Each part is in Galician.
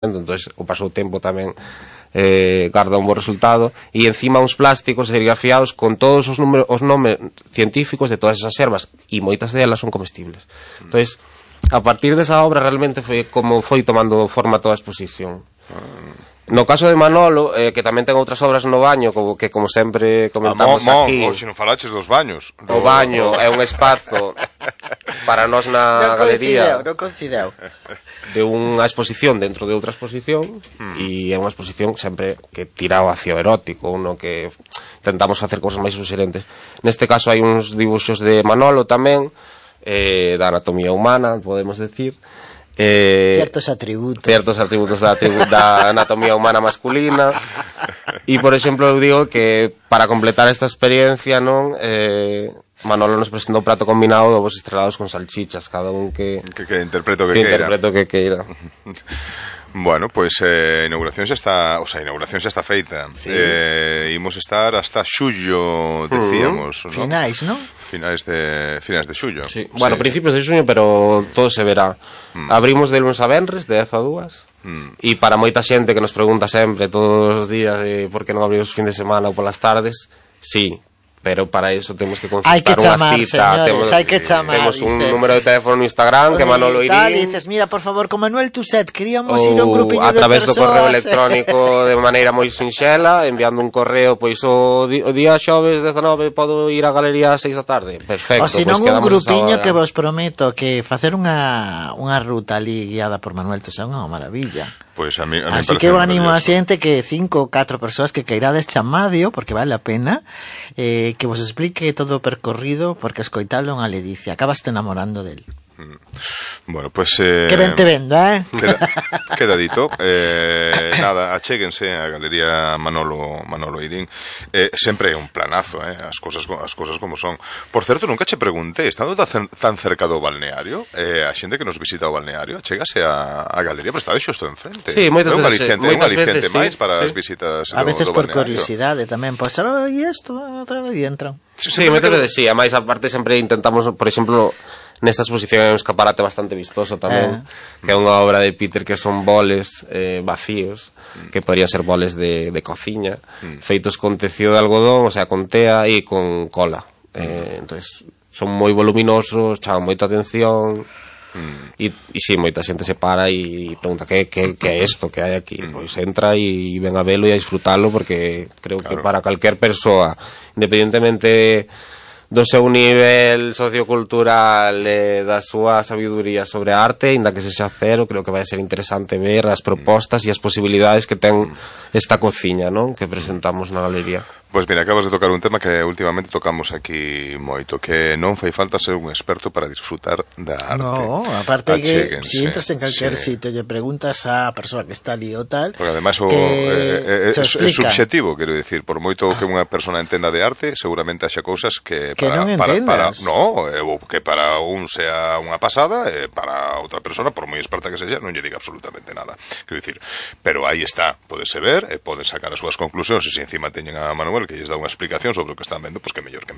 entonces o paso do tempo tamén garda un bo resultado, e encima uns plásticos serigrafiados con todos os nomes científicos de todas esas ervas, e moitas delas son comestibles. Entonces, a partir desa obra realmente foi como foi tomando forma toda a exposición. No caso de Manolo, que tamén ten outras obras no baño, que como sempre comentamos aquí. Se non falaches dos baños. O baño é un espazo para nós na galería. Non coincideu. De unha exposición dentro de outra exposición, e é unha exposición sempre que tira ao ácido erótico, no que tentamos facer cousas máis suxerentes. Neste caso hai uns dibuxos de Manolo tamén, da anatomía humana, podemos decir, ciertos atributos da anatomía humana masculina, e por exemplo eu digo que para completar esta experiencia, non, Manolo nos presentou un prato combinado de ovos estrelados con salchichas, cada un que interpreto que queira. Bueno, pois a inauguración xa está feita. Sí. Imos estar hasta xullo, decíamos, ¿no? Finais, ¿no? Finais de xullo. Sí. Bueno, principios de xuño, pero todo se verá. Abrimos de lunes a venres, de 10 a 2, e para moita xente que nos pregunta sempre todos os días de por que non abrimos fin de semana ou polas tardes, sí, pero para eso temos que concertar unha cita, temos un número de teléfono no Instagram, que Manolo Irín, dices, mira, por favor, con Manuel Tuset queríamos ir a un grupiño de persoas, a través do correo electrónico de maneira moi sinxela, enviando un correo, pois o día xoves 19 podo ir á galería ás 6 da tarde, perfecto. O senón un grupiño que vos prometo que facer unha ruta ali guiada por Manuel Tuset é unha maravilla. Pois a mí así que eu animo a xente que 5 ou 4 persoas que cairades chamadio, porque vale a pena, que vos explique todo o percorrido, porque escoitalo unha ledicia, acabas te enamorando del. Bueno, pues que ben te vendo, queda dito. Nada, achéguense a Galería Manolo Irín. Sempre é un planazo, as cousas como son. Por certo, nunca che preguntei, estando tan cerca do balneario, a xente que nos visita o balneario, achégase a Galería, pero está xusto enfrente. Sí, moitas veces, un aliciente máis para as visitas a veces do por curiosidade tamén, pois e isto, e entran. Sí, moitas veces sí, a máis aparte sempre intentamos, por exemplo, nesta exposición hai un escaparate bastante vistoso tamén, que é unha obra de Peter que son boles vacíos, que podrían ser boles de cociña, feitos con tecido de algodón, o sea, con tea e con cola. Entonces, son moi voluminosos, chaman moita atención, e si, moita xente se para e pregunta que é isto que hai aquí, pois entra e ven a velo e a disfrutalo, porque creo que para calquer persoa, independentemente do seu nivel sociocultural, da súa sabiduría sobre a arte, ainda que sexa cero, creo que vai ser interesante ver as propostas e as posibilidades que ten esta cociña, non? Que presentamos na galería. Pois mira, acabas de tocar un tema que últimamente tocamos aquí moito, que non fai falta ser un experto para disfrutar da arte. No, aparte que si entras en calquer sitio e preguntas a persoa que está ali ou tal, porque además é subxetivo, quero dicir, por moito que unha persona entenda de arte, seguramente haxa cousas que non entendas. Que para un sea unha pasada, para outra persona, por moi experta que sexa, non lle diga absolutamente nada. Quero dicir, pero aí está, podese ver, poden sacar as súas conclusións, e se encima teñen a Manuel que lles dá unha explicación sobre o que están vendo, pois que mellor.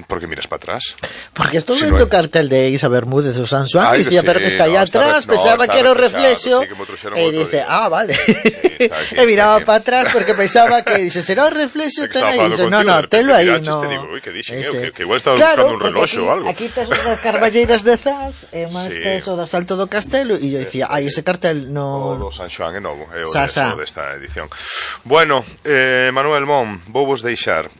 Porque miras para atrás. Porque estou vendo o cartel de Isa Bermúdez o San Juan, e dicía, pero que está aí atrás, pensaba que era o reflexo, e dice, vale. E miraba para atrás porque pensaba que dice, será o reflexo, ten aí, no, telo aí, no. Que igual estaba buscando un reloxo ou algo. Aquí tes as carballeiras de Zas, e máis tes o da Salto do Castelo, e eu dicía, ese cartel no... O do San Juan é novo, é o desta edición. Bueno, Manuel Mon, vou vos deixar.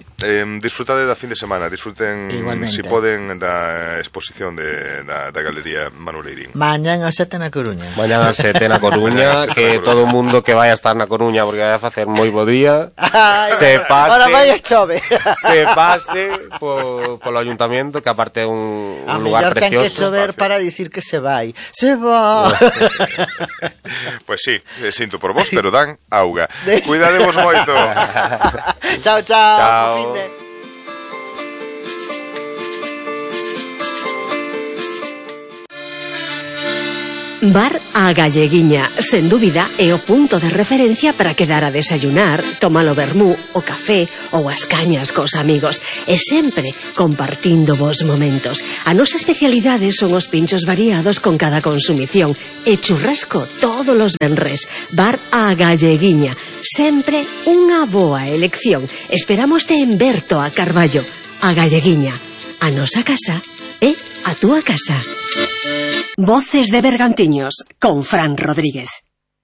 Disfrutade da fin de semana, disfruten, si poden, da exposición da Galería Manuel Irín. Mañán a 7 na Coruña. Mañán a 7 na Coruña, que todo o mundo que vai a estar na Coruña, porque vai a facer moi bo día, se pase, ahora vai a chove, se pase polo ayuntamiento, que aparte é un lugar precioso. A mellor ten que chover para dicir que se vai. Se va. Pois sí, sinto por vos, pero dan auga. Cuidadevos moito. Chao. Chao. Bar A Galleguiña, sen dúbida, é o punto de referencia para quedar a desayunar, tomar o vermú, o café ou as cañas cos amigos, e sempre compartindo vos momentos. A nosa especialidade son os pinchos variados con cada consumición e churrasco todos os venres. Bar A Galleguiña, sempre unha boa elección. Esperámoste en Berto a Carballo. A Galleguiña, a nosa casa é a túa casa. Voces de Bergantiños, con Fran Rodríguez.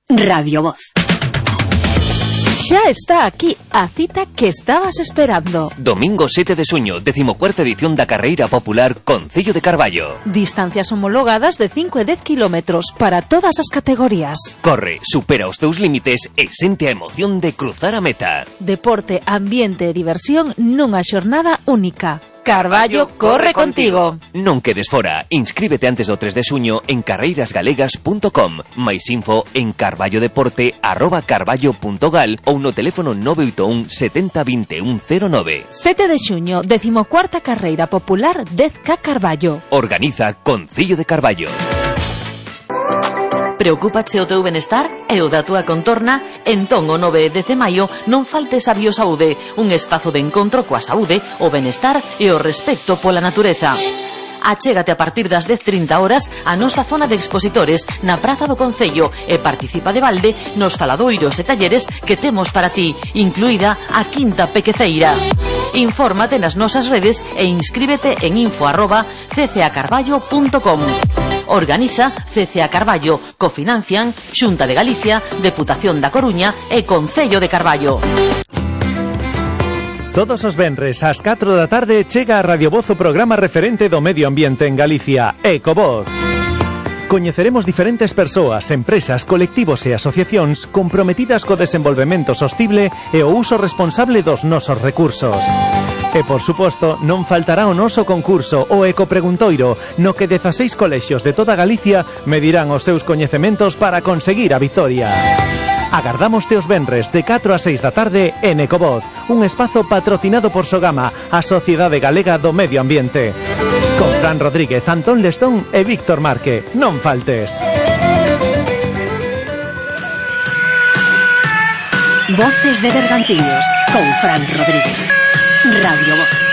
Radio Voz. Xa está aquí a cita que estabas esperando. Domingo 7 de xuño, 14ª edición da Carreira Popular Concello de Carballo. Distancias homologadas de 5 e 10 kilómetros para todas as categorías. Corre, supera os teus límites e sente a emoción de cruzar a meta. Deporte, ambiente e diversión nunha xornada única. Carballo corre contigo. Non quedes fora. Inscríbete antes do 3 de xuño en carreirasgalegas.com. Mais info en carballodeporte@carballo.gal ou no teléfono 981 70 21 09. 7 de xuño, 14ª Carreira Popular 10K Carballo. Organiza Concello de Carballo. Preocúpache o teu benestar e o da túa contorna? Entón o 9 e 10 de maio non faltes a Biosaúde, un espazo de encontro coa saúde, o benestar e o respecto pola natureza. Achégate a partir das 10:30 horas a nosa zona de expositores na Praza do Concello e participa de balde nos faladoiros e talleres que temos para ti, incluída a Quinta Pequeceira. Infórmate nas nosas redes e inscríbete en info@ccacarballo.com. Organiza CCA Carballo, cofinancian Xunta de Galicia, Deputación da Coruña e Concello de Carballo. Todos os venres ás 4 da tarde chega a Radio Voz o programa referente do medio ambiente en Galicia, Ecovoz. Coñeceremos diferentes persoas, empresas, colectivos e asociacións comprometidas co desenvolvemento sostible e o uso responsable dos nosos recursos. E, por suposto, non faltará o noso concurso, o Ecopreguntoiro, no que 16 colexios de toda Galicia medirán os seus coñecementos para conseguir a vitoria. Agardámoste os venres de 4 a 6 da tarde en Ecovoz, un espazo patrocinado por Sogama, a Sociedade Galega do Medio Ambiente. Con Fran Rodríguez, Antón Lestón e Víctor Marque. Non faltes. Voces de Bergantiños, con Fran Rodríguez. Radio Voz.